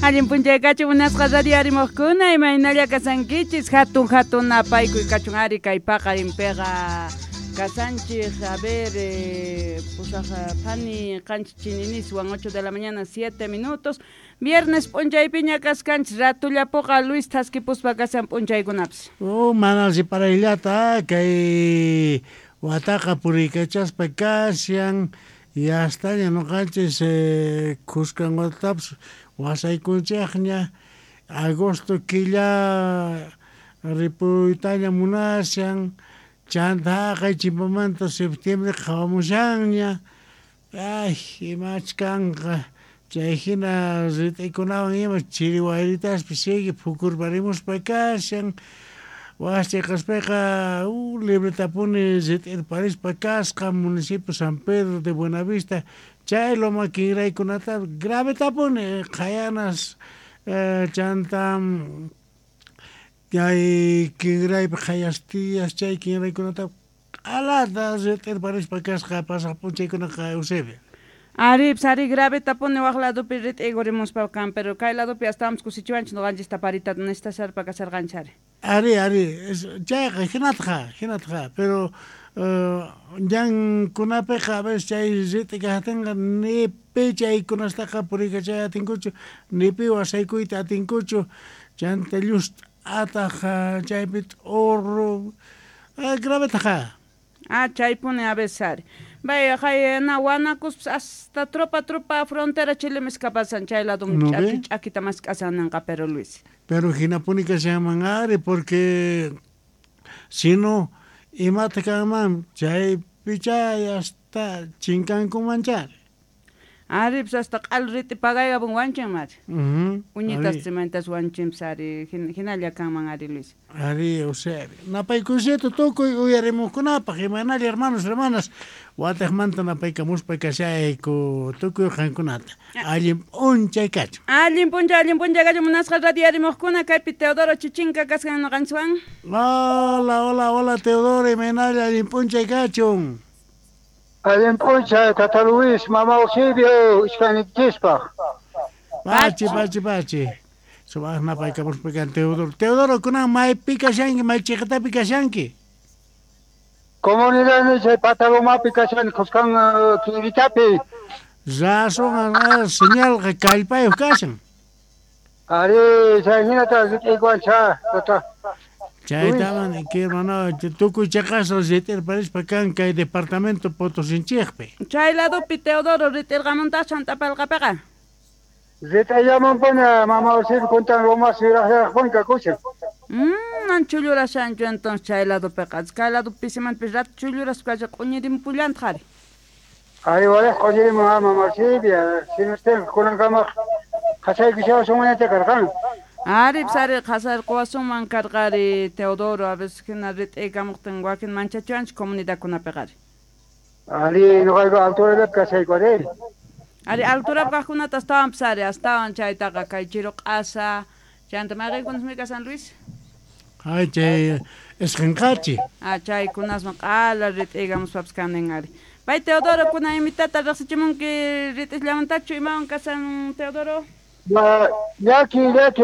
Allin p'unchay kachun munasqa radio arimuqkuna, imaynalla kasankichis, hatun hatun napaykuy kachun ari kay paqarinpiqa kasanchik, a ver, pusaq phani qanchis chininiswan 8 de la mañana 7 minutos, viernes p'unchaypiña kaskanchis, ratullapuqa Luis thaskipuspa kasan p'unchaykunapis. Oh, mana riparayllata kay wataqa puriykachaspa kashan, yastaña noqanchis khuskan watatapas wasaykunchikña, agosto killa ripuytaña munashan, chanta haqay chimpamanta septiembre qhawamushanña, ay imach kanqa, chay hina rit'ikunawan ima chiri wayritaspi sigue phukurparimuspa kashan, wasi chayqaspiqa libretapuni rit'irparispa kasqa municipio San Pedro de Buenavista, chay loma kinraykunata gravetapuni qhayanas chanta chay kinraypi qhayastiyas chay kinraykunata q'alata rit'irparispa kasqa pasaq p'unchaykunaqa Eusebio. Ari, ari gravetapuni waq ladopi rit'ikurimuspa kan, pero kay ladopi astawanpis kusichiwanchis noqanchista parita nestasharpa kasharqanchis ari. Ari, ari, chayqa hinataqa, hinataqa, pero ñankunapiqa a veces chay rit'i kaqtinqa ni pi chaykunastaqa puriykachay atinkuchu, ni pi wasaykuyta atinkuchu, chanta llust'ataq chaypi t'urru, gravetaqa. Ah, chaypuni a veces ari. Vaya, na wanakuspas hasta tropa tropa frontera Chile pasan chay lado ch'aki ch'akita mask'asan ninqa pero Luis. Pero hinapuni kashanman ari porque sino imata kanman chaypi chay hasta chinkankuman chari. Ari, pues hasta q'al rit'i pagaykapun wanchin mari. Uñitas chimantas wanchinpas ari, hinalla kanman ari Luis. Ari, Eusebio. Napaykuysito tukuy uyarimuqkunapaq, imaynalla hermanos, hermanas, wataqmanta napaykamuspa kashayku tukuy qankunata. Allin p'unchay kachun. Allin p'unchay kachun munasqa radio arimuqkuna, kaypi Teodoro Chichinka kaskan noqanchikwan. Hola, hola, hola Teodoro, imaynalla allin p'unchay kachun. Allin p'unchay, Tata Luis, Mama Eusebio, iskaynikichispaq. Pachi, pachi, pachi. Sumaq napaykamuspa kan Teodoro. Teodoro, kunan maypi kashanki, may chiqatapi kashanki? Comunidad chay Patalomapi kashani, khuskan kinritapi. Razón, señalqa kallpayuq kashan. Ari, chay hinata rit'iykuwancha, tata. Chaytaman hermano, tukuy chaqasqa rit'irparispa kan kay departamento Potosinchikpi. Chay ladopi Teodoro rit'irqamuntachu Antapalqapiqa? Rit'ayllamanpuni Mama Eusebio kuntan lomas yuraqllaraqpuni kakushan. Man chullurashanchu entonces chay ladopiqa. Kay ladopi pisimanpis rato chulluraspa kashan q'uñirimupullantaq ari. Ari walej q'uñirimun Mama Eusebio, sinustin kunankamaq qhasaykushawasunmanñacha karqan. Ari, pues ari qhasarquwasunman karqari Teodoro, a veces hina rit'iykamuqtin wakin manchachiwanchik comunidadkunapiqa ari. Ari, noqayku alturallapi kashayku ari. Ari, alturapi kaqkunata astawanpis ari, astawan chaytaqa kay chiru q'asa, chanta mayqinkunasmi kashan Luis? Ay, chay isqinqachi. Ah, chaykunasman q'ala rit'iykamuspapis kanin ari. Pay Teodoro, kunan imitata riqsichimunki rit'isllamantachu imawan kashan Teodoro? Llaki, llaki,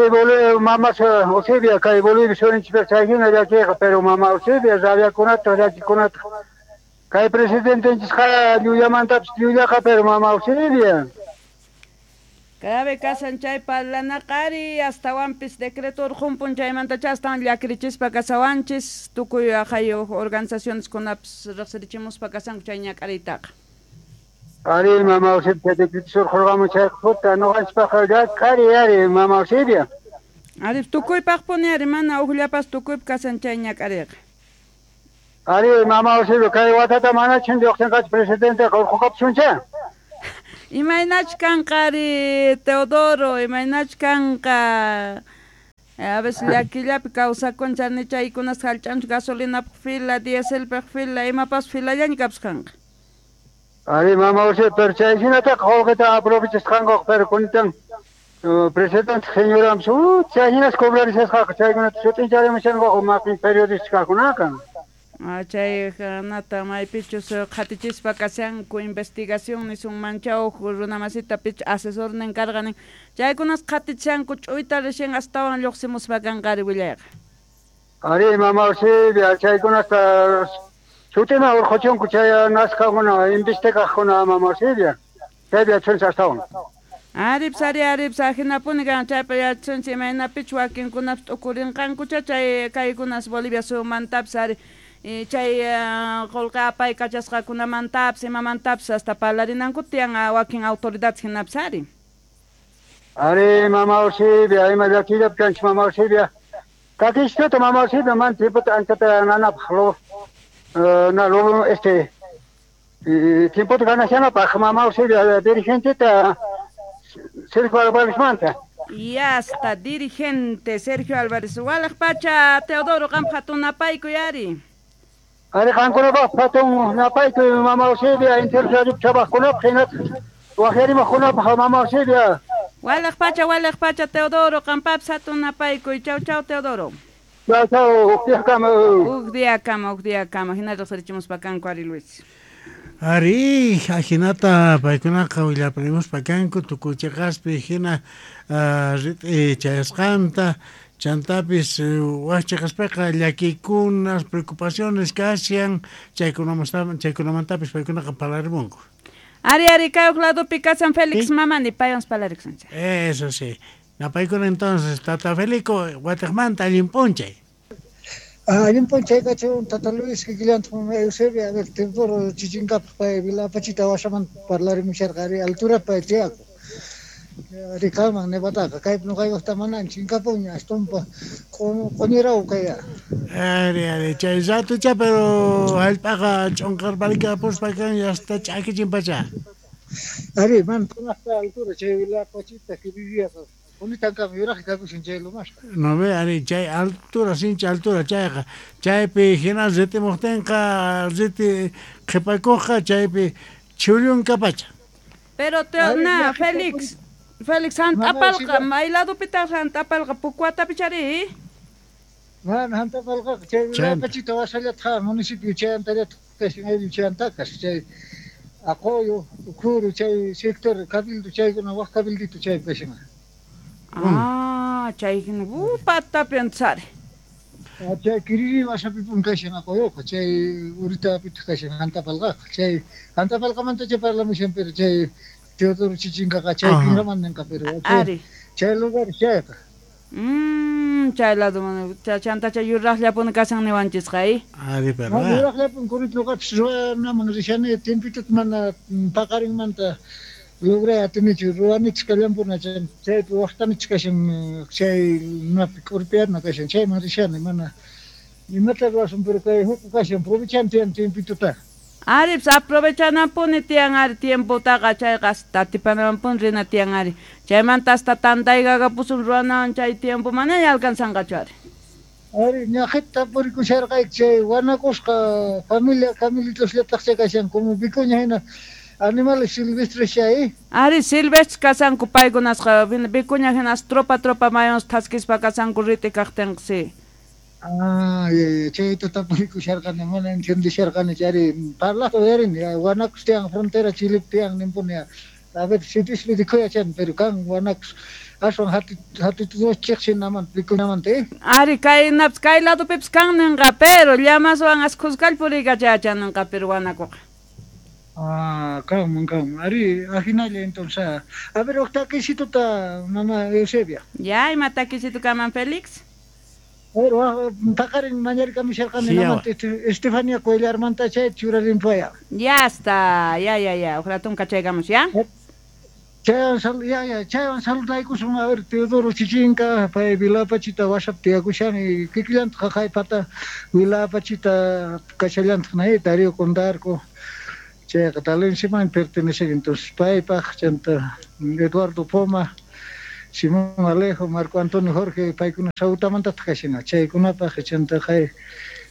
Mama Eusebia, kay Bolivia surinchikpiqa chay hina llakiqa, pero Mama Eusebia rabiakunata, llakikunata. Kay presidentenchisqa llullamantapis llullaqa, pero Mama Eusebia. Grave kashan chay parlanaqa ari, astawanpis decreto urqunpun chaymantacha astawan llakirichispa kasawanchis, tukuy aqhayu organizacioneskunapis riqsirichimuspa kasanku chay ñak'ariytaqa. Ari, Mama Eusebia, decreto urqurqamun chayqa puta, noqanchispaqqa llak'ari ari, Mama Eusebia. Ari, tukuypaqpuni ari, mana ujllapas tukuypi kashan chay ñak'ariyqa. Ari, Mama Eusebia, kay watata manachin lluqsinqachu presidenteqa urquqapishuncha. Imaynach kanqa ari, Teodoro, imaynach kanqa. A veces llakillapi kawsakunchik ni chaykunas hallch'anchik gasolinapaq fila, dieselpaq fila, imapas filallaña kapusqanqa. Ari, Mama Eusebia, pero chay hinataqa qullqita aprovechasqankuqa, pero kunitan presidente señorampis, chay hinas cobrarishasqaqa, chaykunata sut'incharimushankuqa maqin periodista kaqkunaqa. Chay nata maypichus qhatichispa kashanku investigación nisunmancha huk runamasita pich asesornin karqa nin chaykunas qhatichishanku ch'uyta recién astawan lluqsimuspa kanqari willayqa. Ari mama Eusebia chaykunasta sutima urquchunku chay nasqakuna investigaqkuna mama Eusebia chaypi yachunchik astawan. Aripis ari aripis ajinapuni kan chaypa yachunchik imaynapich wakinkunapis t'ukurinqankucha chay kaykunas Bolivia suyumantapis ari chay qullqi apay kachasqakunamantapis imamantapis hasta parlarinanku tiyan wakin autoridades hinapis ari. Ari mama Eusebia ima llakillapi kanchik mama Eusebia kakishkata mama Eusebia man tiempota anchata nanapaq lo na lo este tiempota ganashanapaq mama Eusebia dirigenteta Sergio Álvarez manta. Y hasta dirigente Sergio Álvarez Walaj pacha Teodoro qam hatun napaykuy ari. Ari qankunapaq hatun napaykuy mama Eusebia interradiopi trabajkunapaq hinataq waqyarimaqkunapaq mama Eusebia. Walaj pacha Teodoro qampapis hatun napaykuy. Chau chau Teodoro. Chau chau huk diakama. Huk diakama hina riqsirichimuspa kanku ari Luis. Ari, ajinata paykunaqa willaparimuspa kanku tukuy chiqaspi hina rit'i chayasqanta chantapis wak chiqaspiqa llakikunas preocupaciones kashan chaykunamantapis paykunaqa parlarimunku. Ari ari kay huk ladopi kasan Félix Mamani paywan parlarikusunchik. Eso sí. Napaykuna entonces tata Felico watiqmanta allin p'unchay. Allin p'unchay kachun tata Luis kikillantaq mama Eusebia a ver Teodoro Chichinkapaq pay Vilapachita wasamanta parlarimusharqa ari altura pay tiyakun. Ari kanman nevataqa kaypi nuqaykaqta manan chinkapunña astumpa q'uñiraw kaya. Ari ari chay ratucha pero hallp'aqa ch'unqarparikapuspa kan hasta ch'akichinpacha. Ari man kunaqta altura chay Vilapachita kirillaqa qunitankama yuraqqa kakushan chay lumasqa. No ve ari chay altura sinchi altura chayqa chaypi hina ritimuqtinqa riti qhipakuqqa chaypi chhullunkapacha. Pero na Félix Félix Hantapalqa may ladopitaq Hantapalqa Pucuatapi chari. Mana Hantapalqaqa chay Vilapachita wasallataq municipio chayantallataq kashan ayllu chayantakas chay Aqoyo, Ukhuru chay sector cabildo chaykuna wak cabildito chaypi kashan. Ah, chay hina patapi antsari. Chay Kiriri wasapipun kashan Aqoyoqa chay Uritapitaq kashan Hantapalqaqa chay Hantapalqamanta chay parlamushan pero chay Teodoro Chichinkaqa chay kinraman ninqa pero chay lugar chayqa. Chay lado chantacha yuraqllapuni kashan niwanchisqa. Ari verdad. Yuraqllapun kurit nuqapis ruwanaman rishani tiempitota mana paqarinmanta logray atinichu ruwanichis kallanpuna chaypi waqtanichis kashan chay napi k'urpiyarna kashan chayman rishani mana imata ruwasun pero kay huk kashan aprovechan tiyan tiempitota. Aripis aprovechananpuni tiyan ari tiempotaqa chayqa hasta atipanamanpuni rina tiyan ari chaymanta hasta tantaykapusun ruwanawan chay tiempo manaña alcanzanqachu ari. Ari ñaqita purikusharqayki chay wanakusqa familia camilitosllataq chay kashan como vicuña hina animales silvestres chay. Ari silvestres kasanku paykunasqa vicuña hinas tropa tropa mayons thaskispa kasanku rit'i kaqtinqa sí. Ah, chayta tapurikusharqani mana entendisharqani chari parlaqta uyarini wanakus tiyan frontera Chilepi tiyan ninpuni a ver sitispi rikuyachan pero kan wanakus aswan hatituchiqsinamanta vicuñamanta. Ari kaynapis kay ladopipis kan ninqa pero llamaswan as khuskall puriykachayachan ninqa pero wanakuqa. Ah, kanman kanman ari ajinalla entonces a ver huk takisituta mama Eusebia. Ya ima takisitu kaman Félix. Pero paqarin mañarikamisharqani namanta Estefania Cuellarmanta chay churarinpaya. Ya está, ya ya ya, huk ratun kachaykamus ya. Chaywan ya chaywan saludaykusun a ver Teodoro Chichinka pay Vilapachita wasapi tiyakushani kikillantaq qaqaypata Vilapachita kashallantaq nay Darío Condarco chayqa Talensiman pertenece entonces paypaq chanta Eduardo Poma Simón Alejo, Marco Antonio Jorge, paykuna Sautamantataq kashina chaykunapaq chanta qay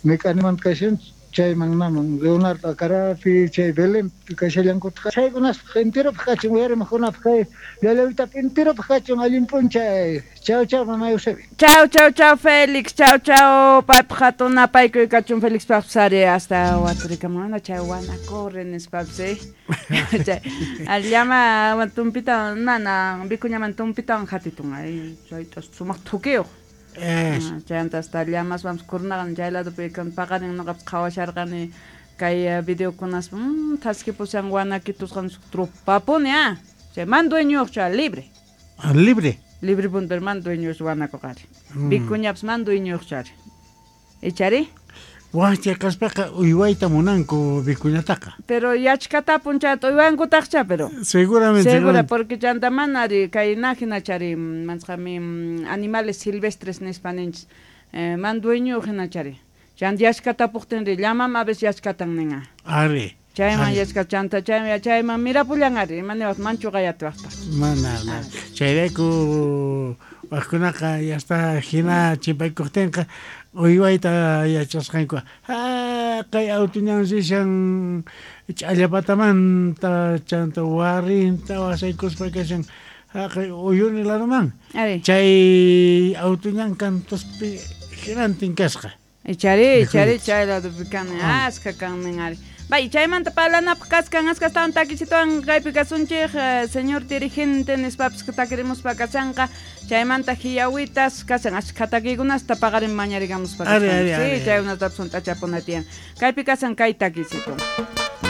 Mecanimanta kashan Chayman naman Leonardo Acarapi, chay Belén kashallankutaq. Chaykunaspaq enteropaq kachun uyarimaqkunapaq kay llallawitapi enteropaq kachun allin p'unchay. Chau chau mama Eusebia. Chau chau chau Félix, chau chau paypaq hatun napaykuy kachun Félix paqpis hasta waturikamunana chay wanacorre nispapis chay llama tumpita mana vicuñaman tumpitawan hatitun ay chayta sumaq thukiyuq. Chayanta hasta llamas vamos kurnaqa chay ladopi paqarin noqapis qhawasharqani kay videokunaspa thaskipushan wanakitusqan tropapuni chay man dueñuyuq chay libre. Libre. Libre punto, pero man dueñuyuq wanakuqari. Vicuñapis man dueñuyuq chari. Ichari? Wajcha kaspaqa uywayta munanku vicuñataqa. Pero yachkatapun chayta uywankutaqcha pero. Seguramente. Segura, porque chanta manari kay hina chari mansqami animales silvestres nispa ninchis. Man dueñuyuq hina chari. Chanta yachkatapuqtinri llamam a veces yachkatan ninqa. Ari. Chayman yachka chanta chayman mirapullan ari imaniwaq manchuqayatiwaqta. Mana chayrayku wajkunaqa ya está hina chimpaykuqtinqa uywayta yachasqanku kay autuñan rishan ch'allapatamanta chanta warrinta wasaykuspa kashan haqay Uyuni ladoman. Chay autuñan cantuspi hinantin kasqa. Ichari chay ladopi kan aska kannin ari. Bay, chaymanta parlanapaq kaskan askastawan takisituwan kaypi kasunchik señor dirigente nispapis takirimuspa kashanqa chaymanta hiyawitas kashan ashkha takiykunasta paqarin mañarigamuspa kashan. Sí, chaykunatapis hunt'achapuna tiyan. Kaypi kashan kay takisitu.